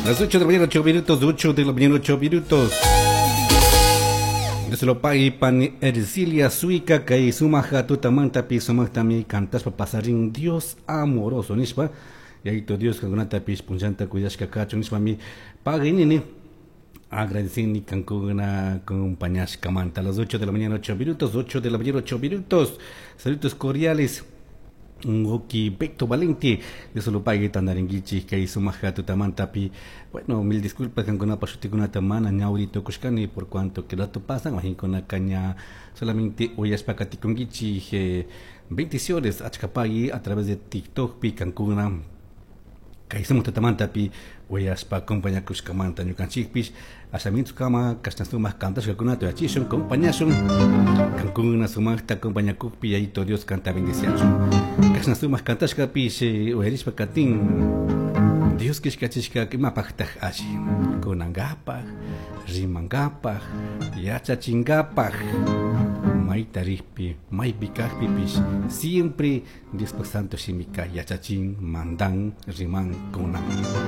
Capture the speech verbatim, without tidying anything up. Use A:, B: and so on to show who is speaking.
A: Las ocho de la mañana, ocho minutos, ocho de la mañana, ocho minutos. Dios lo pague pani Ercilia Suica kay sumaja tutamantapi sumaqtami kantashpa pasarin Dios amoroso nishpa Yayito Dios kankunatapish punllanta cuidashka kachun nishpami pagui nini agradecini kankuna acompañashkamanta a las ocho de la mañana, ocho minutos, ocho de la mañana, ocho minutos. Saludos cordiales. Wawki Beto Valente Dios lo pague tandarinkichik kay sumaja tutamantapi. Bueno, mil disculpas kankunapa shutikunata mana ñawri tukushkani por cuanto que rato pasan wakinkunaka ña solamente uyashpa katikunkichik. eh, bendiciones achkapagui a través de TikTok pi kankuna kay sumak tutamantapi uyashpa acompañakushkamanta ñukanchikpish ashamintukama kashna sumak kantashkakunata uyachishun compañashun kankuna sumakta acompañakukpi Yayito Dios kanta bendiciachun kashna sumak kantashkapish eh, uyarishpa katin Dios kishkachishka imapaqtaq alli kunankapaq rimankapaq yachachinkapak mayta rikpi maypi kaqpipish siempre Diospaq santo shimika yachachin mandan riman kunan.